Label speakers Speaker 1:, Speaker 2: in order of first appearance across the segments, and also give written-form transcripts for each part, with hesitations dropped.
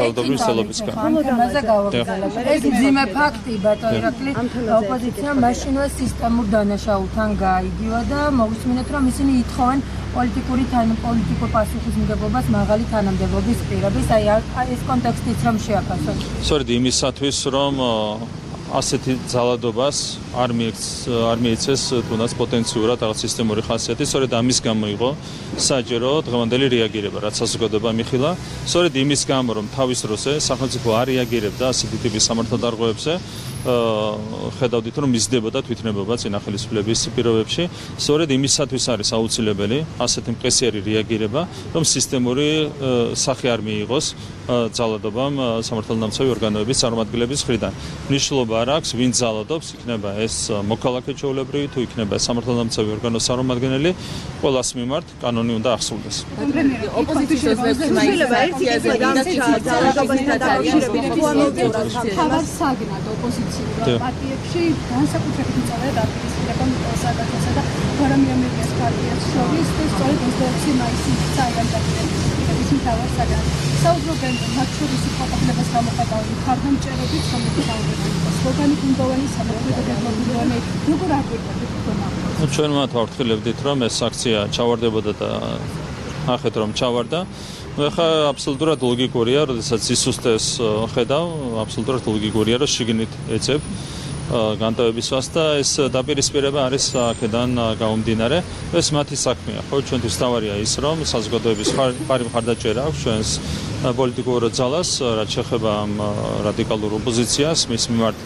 Speaker 1: Ძალადობის ცდილობისგან.
Speaker 2: ამაზე გავაგრძელებ. ეს ძიმე ფაქტი, ბატონ ირაკლი, ოპოზიცია მაშინვე სისტემურ დანაშაულთან გაიგივა და მოვისმინეთ, რომ ისინი ითხოვენ პოლიტიკური პასუხისმგებლობას მაღალი თანამდებობის პირების, აი ეს კონტექსტიც რომ შეაფასოთ.
Speaker 1: სწორედ იმისათვის, რომ ასეთი ძალადობას არ მიეცეს თუნდაც პოტენციურად რაღაც სისტემური ხასიათი, სწორედ ამის გამო იყო საჯერო დღევანდელი რეაგირება, რაც საზოგადოება მიხილა. სწორედ იმის გამო, რომ თავის დროზე სახელმწიფო არ რეაგირებდა ასეთი ტიპის სამართალდარღვევებზე, ხედავდით, რომ მისდებოდა თვითნებობა წინა ხელისუფლების პირობებში. სწორედ იმისათვის არის აუცილებელი ასეთი მყესიერი რეაგირება, რომ სისტემური სახე არ მიიღოს ძალადობამ სამართალდამცავი ორგანოების წარმომადგენლების მხრიდან. მნიშვნელობა არ აქვს, ვინ ძალადობს, იქნება ეს მოქალაქე ჩვეულებრივი, თუ იქნება სამართალდამცავი ორგანოს წარმომადგენელი, ყველას მიმართ კანონი უნდა ახსოვდეს.
Speaker 3: ოპოზიციის შეიძლება ერთი ძალადობასთან დაკავშირებით საგნად ოპოზიციურ პარტიებში განსაკუთრებით მწვავედ აპირისპირება საკათასა და გვარამიამერიკის პარტიას შორის და სწორედ 26 მაისის საერთაშორისო მთავარ საგანად. საუბრობენ მათ შორის ფოტოხლებას გამოხატავენ მხარდამჭერებით, რომელიც საუბრობენ სლოგანი გუნდოვანი სამართლებრივი გეგმები, როგორ აკვირდებით თქო?
Speaker 1: ჩვენ მათ ვაფრთხილებდით, რომ ეს აქცია ჩავარდებოდა და ნახეთ, რომ ჩავარდა. ეხლა აბსოლუტურად ლოგიკურია, როდესაც სისუსტეს ხედავ, აბსოლუტურად ლოგიკურია, რომ შიგნით ეცებ განტოვებისას და ეს დაპირისპირება არის აქედან გამომდინარე. ეს მათი საქმეა, ხო? ჩვენთვის თავარია ის, რომ საზოგადოების ხარი მხარდაჭერა აქვს ჩვენს პოლიტიკურ ძალას, რაც შეეხება ამ რადიკალურ ოპოზიციას, მის მიმართ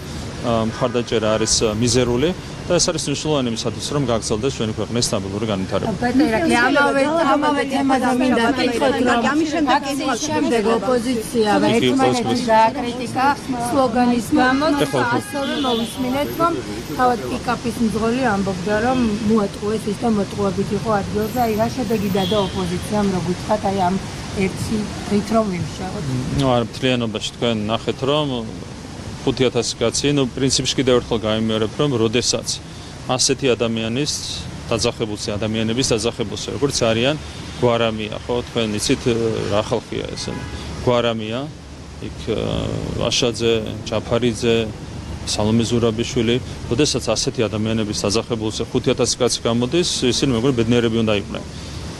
Speaker 1: მხარდაჭერა არის მიზერული და ეს არის მნიშვნელოვანი იმისათვის, რომ გაგრძელდეს ჩვენი ქვეყნის სტაბილური განვითარება.
Speaker 2: ბატონ ირაკლი, ამავე თემაზე მინდა ვკითხოთ, რომ აქციის შემდეგ ოპოზიცია ერთმანეთს დააკრიტიკა სლოგანის გამო და ასევე მოვისმინეთ, რომ თავად პიკაპის მძღოლი ამბობდა, რომ მოატყუეს ის და მოტყუებით იყო ადგილზე, აი რა შედეგი დადა ოპოზიციამ, რო გითხრათ, აი ამ ერთი დღით რომ ვიმშავოთ.
Speaker 1: არ მთლიანობაში თქვენ ნახეთ, რომ 5000 კაცი, პრინციპში კიდევ ერთხელ გამიმეორებ, რომ როდესაც ასეთი ადამიანის დაძახებულსი ადამიანების დაძახებულსი, როგორც არიან გვარამია, ხო, თქვენ იცით რა ხალხია ეს? გვარამია, იქ ვაშაძე, ჯაფარიძე, სალომე ზურაბიშვილი, როდესაც ასეთი ადამიანების დაძახებულსი 5000 კაცი გამოდის, ისინი მეგონი ბედნიერები უნდა იყვნენ.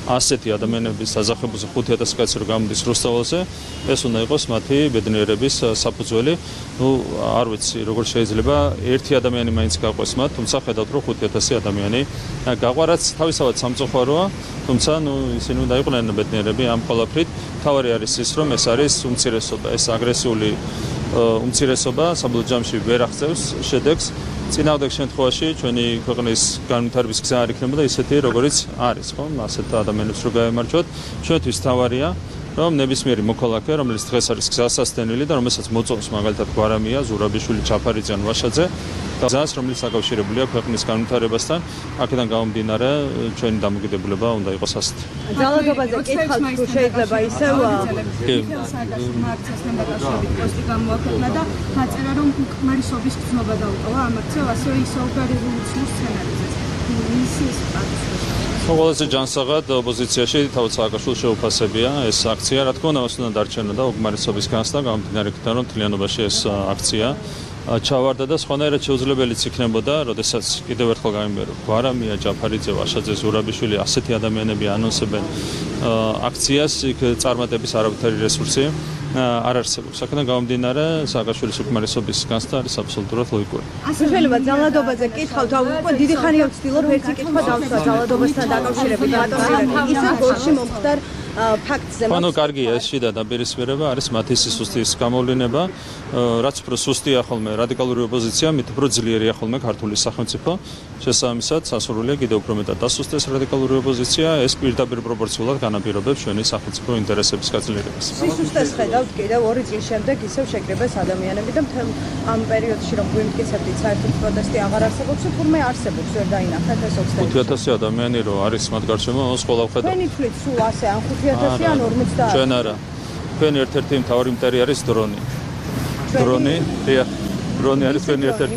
Speaker 1: ასეთი ადამიანების დაძახებულზე 5000 კაცი რო გამოდის რუსთაველზე, ეს უნდა იყოს მათი ბედნიერების საფუძველი. არ ვიცი, როგორ შეიძლება ერთი ადამიანი მაინც გაყვეს მათ, თუმცა ხედავთ, რომ 5000 ადამიანი გაყვარაც თავისთავად სამწუხაროა, თუმცა ისინი უნდა იყვნენ ბედნიერები ამ ყველაფრით. თავარი არის ის, რომ ეს არის უმცირესობა, ეს აგრესიული უმცირესობა საბოლოო ჯამში ვერ აღწევს შედეგს. წინააღმდეგ შემთხვევაში ჩვენი ქვეყნის განვითარების გზა არ იქნებოდა ისეთი, როგორიც არის, ხო? ასეთ ადამიანებს რო გაემარჯვოთ, ჩვენთვის თავარია, რომ ნებისმიერი მოქალაქე, რომელიც დღეს არის გზასასტენელი და რომელსაც მოწონს მაგალითად გვარამია, ზურაბიშვილი, ჯაფარიძე ან ვაშაძე, გზას, რომელიც დაკავშირებულია ქვეყნის განვითარებასთან, აქედან გამომდინარე, ჩვენი დამოკიდებულება უნდა იყოს ასეთი.
Speaker 3: ძალადობაზე კითხავთ, თუ შეიძლება ისევ
Speaker 4: აქციასთან დაკავშირებით პოსტი გამოაქვეყნა და დაწერა, რომ უკმარისობის გრძნობა დაუტოვა ამ აქციამ, ასევე ისაუბრა რევოლუციურ სცენარიზეც. მისის პატივსაცემად.
Speaker 1: ყველაზე ჯანსაღად ოპოზიციაში თავად სააკაშვილის შეუფასებია ეს აქცია, რა თქმა უნდა, მას უნდა დარჩენოდა უკმარისობის განცდა, გამომდინარე იქიდან, რომ მთლიანობაში ეს აქცია ჩავარდა და სხვანაირად შეუძლებელიც იქნებოდა, როდესაც კიდევ ერთხელ გამიმეორებ, გვარამია, ჯაფარიძე, ვაშაძე, ზურაბიშვილი, ასეთი ადამიანები ანონსებენ აქციას, იქ წარმატების არავითარი რესურსი არ არსებობს. აქედან გამომდინარე, სააკაშვილის უკმარისობის განცდა არის აბსოლუტურად ლოგიკური.
Speaker 3: ასე შეიძლება ძალადობაზე კითხავთ, უკვე დიდი ხანია ვცდილობ ერთი კითხვა დავსვა ძალადობასთან დაკავშირებით, ბატონ ირაკლი, ისე გორში მომხდარ ფაქტზე.
Speaker 1: ანუ კარგია ეს შიდა დაპირისპირება, არის მათი სისუსტის გამოვლინება, რაც უფრო სუსტია ხოლმე რადიკალური ოპოზიცია, მით უფრო ძლიერია ხოლმე ქართული სახელმწიფო. შესაბამისად, სასურველია კიდევ უფრო მეტად დასუსტდეს რადიკალური ოპოზიცია, ეს პირდაპირ პროპორციულად განაპირობებს ჩვენი სახელმწიფო ინტერესების გაძლიერებას.
Speaker 3: სისუსტეს ხედავთ კიდევ 2 წლის შემდეგ ისევ შეკრიბეს ადამიანები და მთელ ამ პერიოდში რომ გვიმტკიცებდით, საერთოდ პროტესტი აღარ არსებობს, თურმე არსებობს, ვერ დაინახეთ ეს
Speaker 1: 5000 ადამიანი რო არის მათ გარშემო, ის ყველა ხედავთ.
Speaker 3: თქვენი თვლით სულ ასე ან 5000 ან 50.
Speaker 1: ჩვენ არა. თქვენი ერთ-ერთი მთავარი მტერი არის დრონი. დრონი არის თქვენი ერთ-ერთი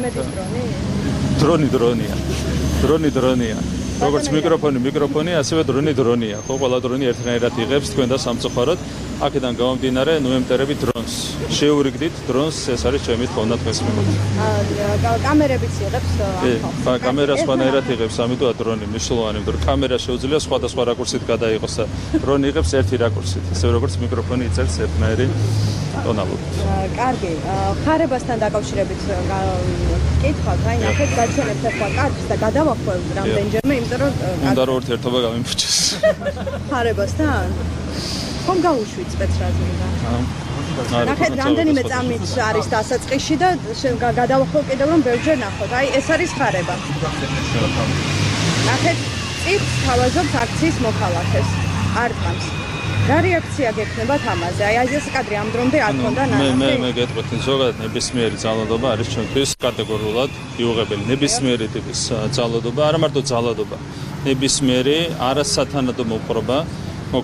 Speaker 1: დრონია. როგორც მიკროფონი, ასევე დრონია, ხო? ყველა დრონი ერთნაირად იღებს თქვენ და სამწუხაროდ. აქედან გამომდინარე, ნუ ემტერები დრონს. შეურიგდით დრონს, ეს არის ჩემი თხოვნა დღეს მიმართ.
Speaker 4: კამერებიც იღებს
Speaker 1: კი, კამერა სხვანაირად იღებს, ამიტომ დრონი მნიშვნელოვანი, იმიტომ რომ კამერა შეუძლია სხვადასხვა რაკურსით გადაიღოს და დრონი იღებს ერთი რაკურსით, ისე როგორც მიკროფონი იწერს ერთნაირი ტონალობით.
Speaker 4: კარგი, ხარებასთან დაკავშირებით კითხავთ, აი ნახეთ გაჩვენებთ ახლა კადრს და გადავახველთ რამდენჯერმე, იმიტომ რომ
Speaker 1: უნდა რომ ურთიერთობა გამიმფუჭეს.
Speaker 4: ხარებასთან? ხომ გაუშვით სპეცრაზმიდან? ნახეთ რამდენიმე წამით არის დასაწყისში და გადავახვალ კიდევ რომ ბევრჯერ ნახოთ. აი ეს არის ხარება. ნახეთ წიგნს თავაზობს აქციის მოქალაქეს. არ წამს. რა რეაქცია გექნებათ ამაზე? აი ეს კადრი ამ დრომდე არ ქონდა ნახე.
Speaker 1: მე გეტყვით, ზოგადად ნებისმიერი ძალადობა არის ჩვენთვის კატეგორიულად მიუღებელი. ნებისმიერი ტიპის ძალადობა, არა მარტო ძალადობა, ნებისმიერი არასათანადო მოპყრობა